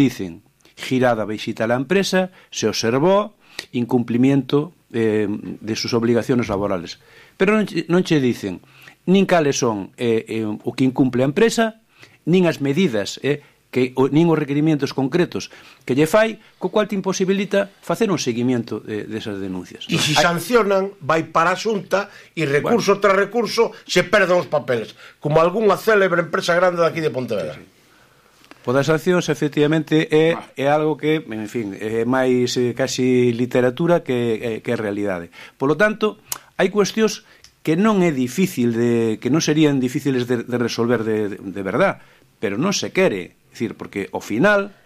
dicen girada visita a la empresa, se observó incumplimiento de sus obligaciones laborales. Pero non che dicen nin cales son o que incumple a empresa, nin as medidas nin os requerimentos concretos que lle fai, co cual te imposibilita facer un seguimento desas denuncias. E se sancionan, vai para a Xunta e recurso tras recurso se perden os papeles, como algunha célebre empresa grande daqui de Pontevedra. Sí. O das sancións, efectivamente, é algo que, en fin, é máis casi literatura que realidade. Polo tanto, hai cuestións que non é difícil que non serían difíciles de resolver de verdad, pero non se quere, é dicir, porque ao final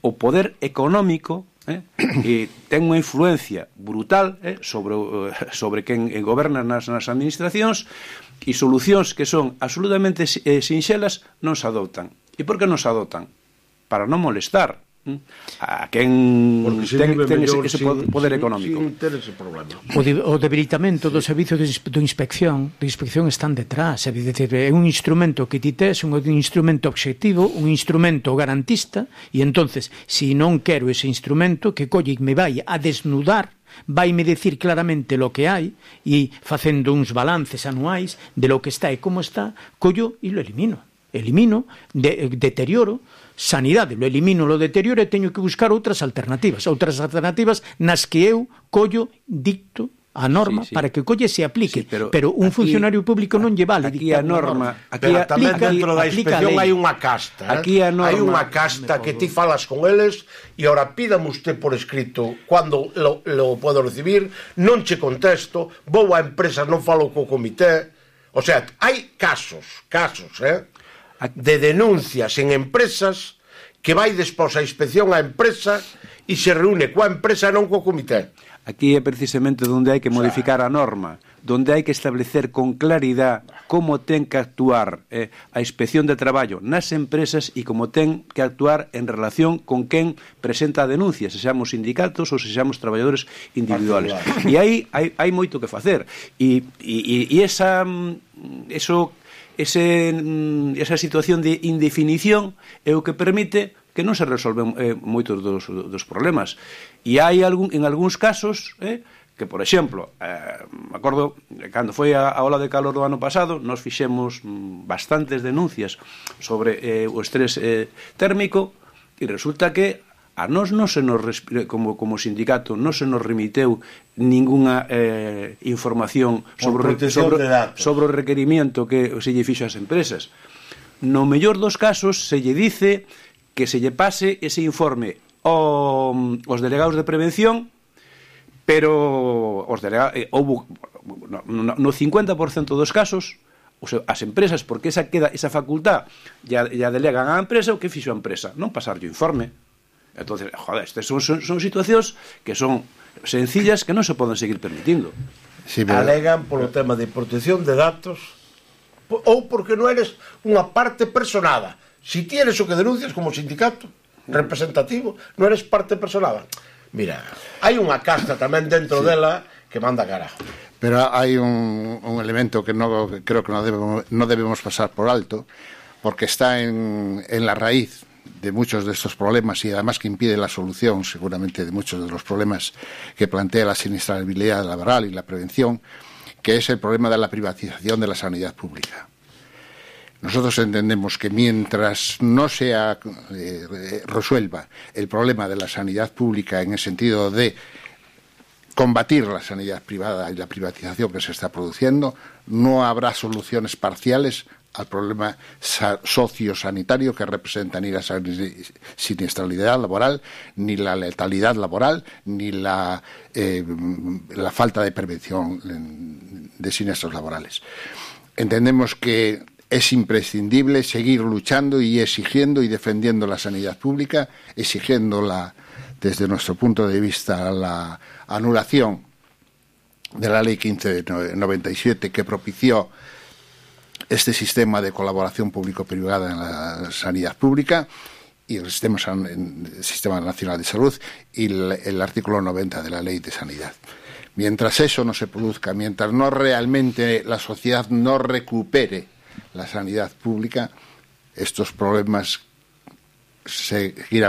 o poder económico ten unha influencia brutal sobre quen goberna nas administracións, e solucións que son absolutamente sinxelas non se adoptan. E por que non se adoptan? Para non molestar a quen ten ese poder económico. O debilitamento do servizo de inspección están detrás. É un instrumento que ti tes, un instrumento obxectivo, un instrumento garantista, e entonces, se non quero ese instrumento, que colle me vai a desnudar, vaime decir claramente lo que hai, e facendo uns balances anuais de lo que está e como está, collo e lo elimino, deterioro sanidade, lo elimino, lo deterioro, e teño que buscar outras alternativas nas que eu collo, dicto a norma para que colle se aplique, pero un funcionario público non lle vale dictar a norma. Pero tamén dentro da inspección hai unha casta, hai unha casta que ti falas con eles e ora pídame usted por escrito cando lo podo recibir, non che contesto, vou á empresa, non falo co comité. O sea, hai casos de denuncias en empresas que vai despois a inspección á empresa e se reúne coa empresa, non co comité. Aquí é precisamente onde hai que modificar a norma, onde hai que establecer con claridade como ten que actuar a inspección de traballo nas empresas e como ten que actuar en relación con quen presenta a denuncia, se xamos sindicatos ou se xamos traballadores individuales. E aí hai moito que facer. E esa situación de indefinición é o que permite que non se resolven moitos dos problemas. E hai en algúns casos que, por exemplo, me acordo, cando foi a ola de calor do ano pasado, nos fixemos bastantes denuncias sobre o estrés térmico, e resulta que a nós non se nos, como sindicato, non se nos remiteu ninguna información sobre o requerimiento que se lle fixo ás empresas. No mellor dos casos se lle dice que se lle pase ese informe aos delegados de prevención, pero no 50% dos casos as empresas, porque esa facultad ya delegan á empresa, o que fixo a empresa, non pasarlle o informe. Entonces, estas son situacións que son sencillas que non se poden seguir permitindo. Alegan polo tema de protección de datos ou porque non eres unha parte personada. Si tienes o que denuncias como sindicato representativo, non eres parte personada. Mira, hai unha casta tamén dentro dela que manda carajo. Pero hai un elemento que creo que no debemos pasar por alto, porque está en la raíz de muchos de estos problemas y además que impide la solución seguramente de muchos de los problemas que plantea la siniestralidad laboral y la prevención, que es el problema de la privatización de la sanidad pública. Nosotros entendemos que mientras no se resuelva el problema de la sanidad pública en el sentido de combatir la sanidad privada y la privatización que se está produciendo, no habrá soluciones parciales al problema sociosanitario que representa ni la siniestralidad laboral, ni la letalidad laboral, ni la falta de prevención de siniestros laborales. Entendemos que es imprescindible seguir luchando y exigiendo y defendiendo la sanidad pública, exigiéndola desde nuestro punto de vista la anulación de la Ley 15 de 97 que propició este sistema de colaboración público-privada en la sanidad pública y el Sistema Nacional de Salud y el artículo 90 de la Ley de Sanidad. Mientras eso no se produzca, mientras no realmente la sociedad no recupere la sanidad pública, estos problemas seguir